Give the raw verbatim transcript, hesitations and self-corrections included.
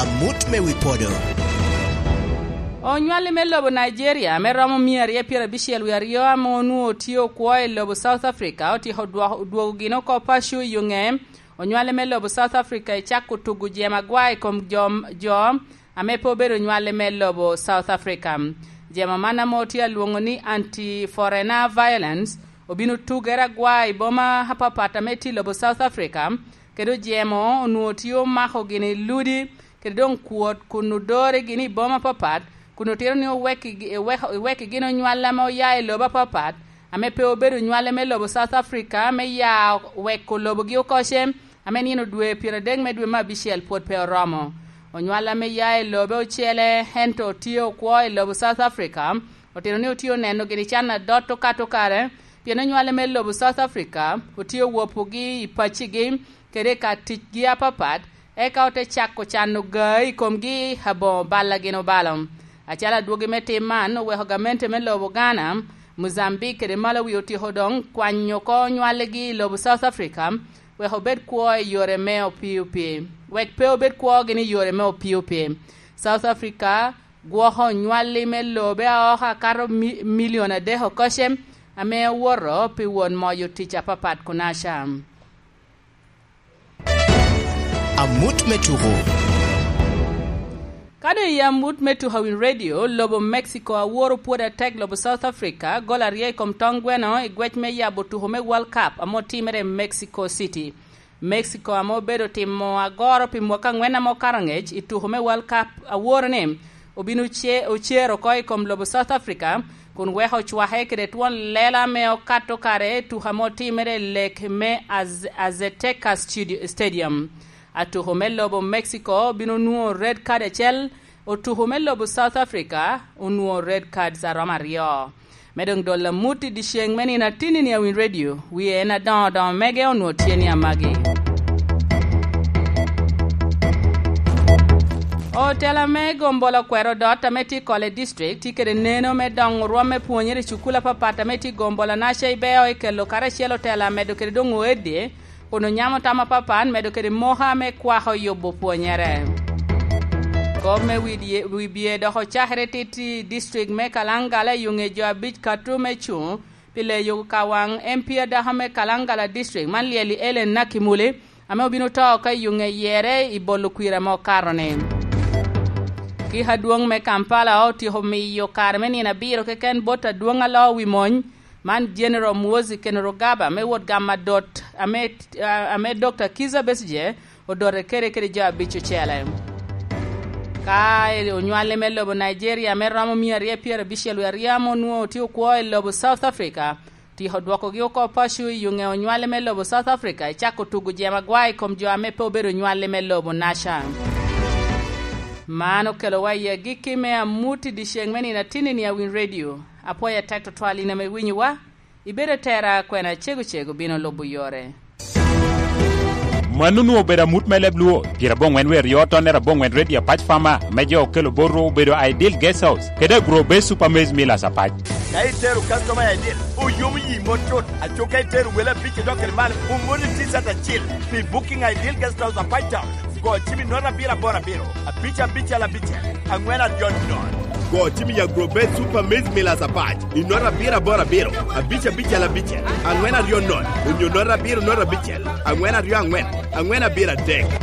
Amut me wi podo. Onywalli me lobo Nigeria ame romo mia aryo pyerabicel wie aryo ame onwoŋo tye okwo i lobo South Africa otyeko dwoko, dwogo gin oko paco i yo ŋe. Onywalli me lobo South Africa ecako tugo jemo agwa i kom jo, jo ame pe obedo onywalli me lobo South Africa. Jemo man ame otye alwoŋo ni anti-foreigner violence obino tugere agwa i boma apapat ame tye i lobo South Africa, kede ojemo onwoŋo tye omako gini ludi, kede doŋ kwot kun odore gini i boma apapat, kun otito ni owekki-, eweko-, ewekki gin onywal ame oya i lobo apapat, ame pe obedo nywale me lobo South Africa, me ya weko lobogi okoce, ame nino dwe pyeradek me dwe me abicel pwod pe oromo. Onywal ame ya i lobe ocele, ento tye okwo i lobo South Africa, otito ni otye oneno gini can adot okato kare, pien onywale me lobo South Africa otye owopogi i paccigi, kede i ka ticgi apapat, eka ote cako cano gaa i komgi aboŋo bal a gin obalo. Acalo adwogi me tim man oweko gamente me lobo Ghana, Mozambique kede Malawi otyeko doŋ kwanyo oko nywaligi i lobo South Africa, wek obed kwo i yore me opii opii, wek pe obed kwogi ni yore me opii opii. South Africa gwoko nywalli me lobe aoka akato mi-, milion adek okoce, ame owoto pi won moyo tic apapat kunaca. Amut me tuko. Ka doŋ i amut me tuko a Win Radio, lobo Mexico aworo pwod atek lobo South Africa, gol aryo i kom toŋ gweno i gwec me yabo tuko me World Cup ame otimere i Mexico City. Mexico ame obedo timo agoro pi mwaka angwen ame okato angec i tuko me World Cup aworo ni, obin oce-, ocer oko i kom lobo South Africa, kun weko ocwake kede twon lela ame okato kare i tuko ame otimere i lek me Az-, Azteca Studio-, Stadium. Atuko me lobo Mexico obino nwoŋo red card acel, otuko me lobo South Africa onwoŋo red cards a romo aryo. Me doŋ dolo amut i dyeceŋ me nino atinni a Win Radio, wie en adoŋo doŋo mege onwoŋo tye ni amagi. Otela me gombolo kwero dot ame tye i Kole District tye kede neno me doŋo rwom me pwonyere i cukul apapat ame tye i gombolo naca i Beo i kelo karacel otela medo kede doŋ oeddi, kun onyamo tam apapat medo kede moka me kwako yubo pwonyere. Kop me wi dye-, wi bye dok ocakere tit i district me Kalangala i yo ŋe jo abic kato me cuŋ pi leyo kawaŋ M P adako me Kalangala District man Lyeli Ellen Nakimuli, ame obino to ka i yo ŋe yere i bolo kwir ame okato-ni. Kik adwoŋ me Kampala otyeko miyo kare me nino abiro keken bot adwoŋ alo wi mony, man General Muhoozi Kainerugaba me wot gamo adot ame, ame Doctor Kizza Besigye odote kede, kede jo abic ocele. Ka onywale me lobo Nigeria me romo mia aryo pyerabicel wie aryo ame onwoŋo tye okwo i lobo South Africa, tyeko dwokogi oko paco i yo ŋe onywale me lobo South Africa, ecako tugo jemo agwa i kom jo ame pe obedo onywale me lobo naca. Man okelowa i agikki me amut i dyeceŋ me nino atinni a Win Radio. Apwoyo atek tutwal in ame iwinyowa. Ibedo atera, kwena cego cego bino lubo yore. Mano onwoŋo obedo amut me leb Luo, pyeraboŋwen wie aryo tonnere aboŋwen Radio Apac Farmer, me jo okelo bot rwo obedo Ideal Guest House, kede Agro Base Super Maize Millers Apac. Ka itero customer Ideal, oyomo yi mot cut, aco ka itero wele abic idok kede malo, omoni T-shirt acil pi booking Ideal Guest House Apac Town. Go cim i note abiro aboro abiro, abic abicel abicel, angwen aryo nono. Go cim i Agrobet Super Maize Millers Apac i note abiro aboro abiro, abic abicel abicel, angwen aryo nono, onyo note abiro note abicel, angwen aryo angwen, angwen abiro adek.